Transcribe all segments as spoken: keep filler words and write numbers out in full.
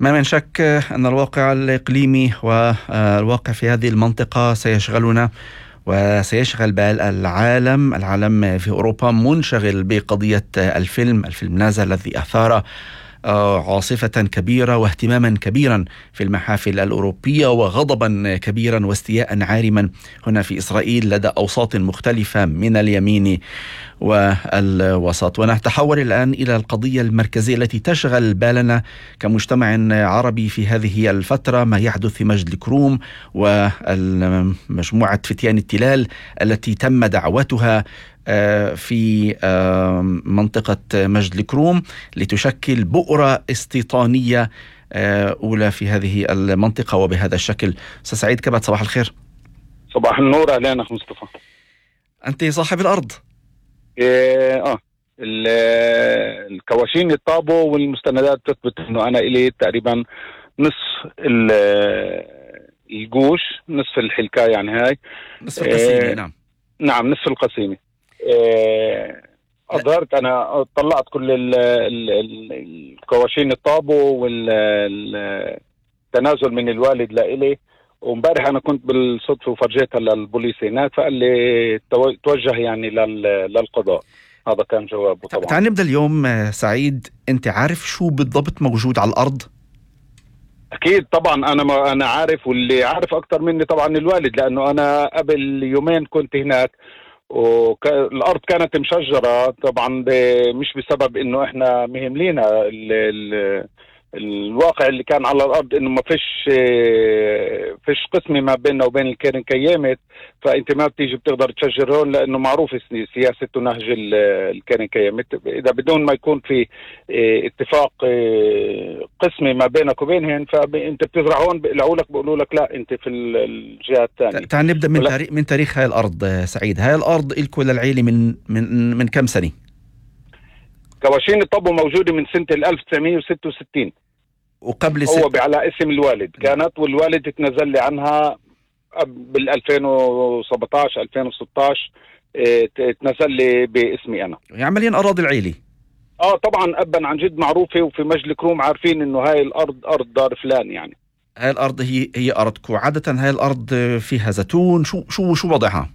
ما من شك أن الواقع الإقليمي والواقع في هذه المنطقة سيشغلنا وسيشغل بال العالم. العالم في أوروبا منشغل بقضية الفيلم الفيلم نازا الذي أثار عاصفة كبيرة واهتماما كبيرا في المحافل الأوروبية وغضبا كبيرا واستياء عارما هنا في إسرائيل لدى أوساط مختلفة من اليمين والوسط. ونتحول الآن إلى القضية المركزية التي تشغل بالنا كمجتمع عربي في هذه الفترة، ما يحدث في مجد الكروم ومجموعة فتيان التلال التي تم دعوتها في منطقة مجد الكروم لتشكل بؤرة استيطانية أولى في هذه المنطقة وبهذا الشكل. أستاذ سعيد كبت، صباح الخير. صباح النور، أهلا أخ مصطفى. أنت صاحب الأرض. إيه آه الكواشين الطابو والمستندات تثبت أنه أنا إلي تقريبا نصف الجوش، نصف الحلكاء، يعني هاي نصف القسيمة. إيه نعم نعم نصف القسيمة. إيه أظهرت أنا طلعت كل ال ال ال الكواشين الطابو والتنازل من الوالد لإلي، ومبارح أنا كنت بالصدفة وفرجيتها للبوليس هناك، فقال لي توجه يعني للقضاء. هذا كان جوابه. طبعا تعال نبدأ اليوم. سعيد، أنت عارف شو بالضبط موجود على الأرض؟ أكيد طبعا أنا ما أنا عارف، واللي عارف أكتر مني طبعا الوالد، لأنه أنا قبل يومين كنت هناك والأرض كانت مشجرة طبعا، مش بسبب إنه إحنا مهملينا ال ال الواقع اللي كان على الأرض إنه ما فيش فيش قسمة ما بيننا وبين الكيرن كيامت، فأنت ما بتيجي بتقدر تشجر هون، لأنه معروف سياسة ونهج الكيرن كيامت. إذا بدون ما يكون في اتفاق قسمي ما بينك وبينهن، فأنت بتزرع هون بيقولوا لك بيقولوا لك لا أنت في الجهة الثانية. تعال نبدأ من تاريخ من تاريخ هاي الأرض. سعيد، هاي الأرض إلكو للعيلة من من من كم سنة؟ كواشين الطابو موجودة من سنة ألف وتسعمية وستة وستين، وقبل هو على اسم الوالد كانت، والوالد تنزل لي عنها بال ألفين وسبعطعش ألفين وستطعش، تنزل لي باسمي أنا. عمليا أراضي العيلة. اه طبعا أبا عن جد معروفة، وفي مجد الكروم عارفين إنه هاي الأرض أرض دار فلان. يعني هاي الأرض هي هي أرضكم. عادة هاي الأرض فيها زيتون، شو شو شو وضعها؟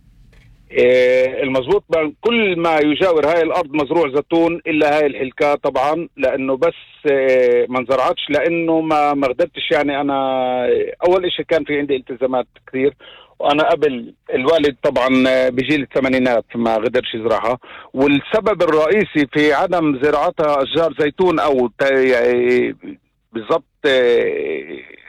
إيه المزبوط، كل ما يجاور هاي الأرض مزروع زيتون إلا هاي الحلكاء طبعا، لأنه بس إيه ما انزرعتش، لأنه ما ما قدرتش. يعني أنا أول إشي كان في عندي التزامات كثير، وأنا قبل الوالد طبعا بجيل الثمانينات ما قدرش يزرعها، والسبب الرئيسي في عدم زراعتها أشجار زيتون أو يعني بالضبط إيه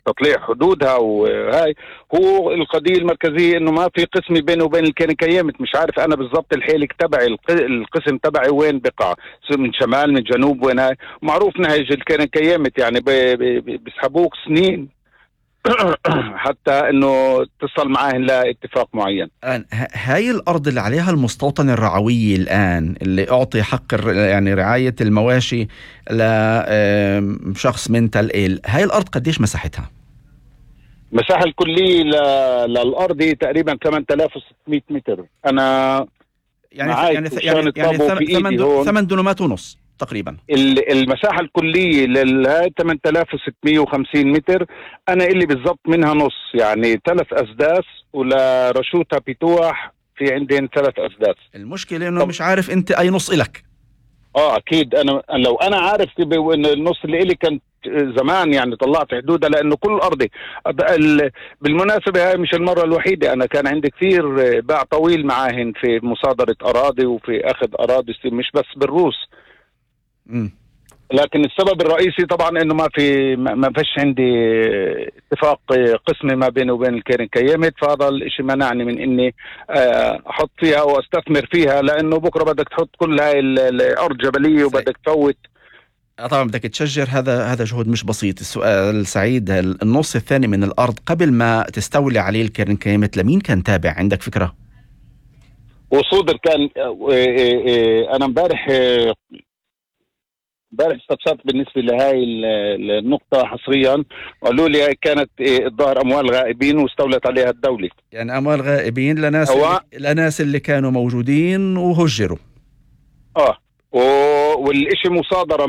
تطليع حدودها وهاي هو القضية المركزية، انه ما في قسم بينه وبين الكيرن كيامت. مش عارف انا بالضبط الحيلك تبعي القسم تبعي وين بقع، من شمال من جنوب وين. هاي معروف نهج الكيرن كيامت، يعني بيسحبوك سنين حتى انه تصل معاهن لاتفاق معين. هاي الارض اللي عليها المستوطن الرعوي الان، اللي اعطي حق يعني رعاية المواشي لشخص من تل إيل، هاي الارض قديش مساحتها؟ مساحة الكلية للأرض تقريبا ثمانية آلاف وستمية متر. أنا يعني يعني يعني, يعني ثمان ثمان دنومات ونص تقريبا. المساحة الكلية للهاي ثمانية آلاف وستمية وخمسين متر، أنا اللي بالضبط منها نص، يعني ثلاث أسداس، ولرشوتها بتوح في عندين ثلاث أسداس. المشكلة إنه مش عارف أنت أي نص إلك. آه أكيد، أنا لو أنا عارف إن النص اللي إلي كان زمان يعني طلعت حدودها، لأنه كل أرضي. بالمناسبة هاي مش المرة الوحيدة، أنا كان عندي كثير باع طويل معاهن في مصادرة أراضي وفي أخذ أراضي، مش بس بالروس. م. لكن السبب الرئيسي طبعا انه ما في ما فيش عندي اتفاق قسمي ما بيني وبين الكيرن كيامت، فهذا الاشي منعني من اني احط فيها واستثمر فيها، لانه بكره بدك تحط كل هاي الارض جبليه وبدك تفوت. طبعا بدك تشجر، هذا هذا جهد مش بسيط. السؤال سعيد، النص الثاني من الارض قبل ما تستولي عليه الكيرن كيامت لمين كان تابع؟ عندك فكره؟ وصودر كان. انا امبارح امبارح استفسرت بالنسبه لهاي النقطه حصريا، قالوا لي كانت الظاهر اموال غائبين واستولت عليها الدوله. يعني اموال غائبين لناس اللي لناس اللي كانوا موجودين وهجروا. اه والشيء مصادره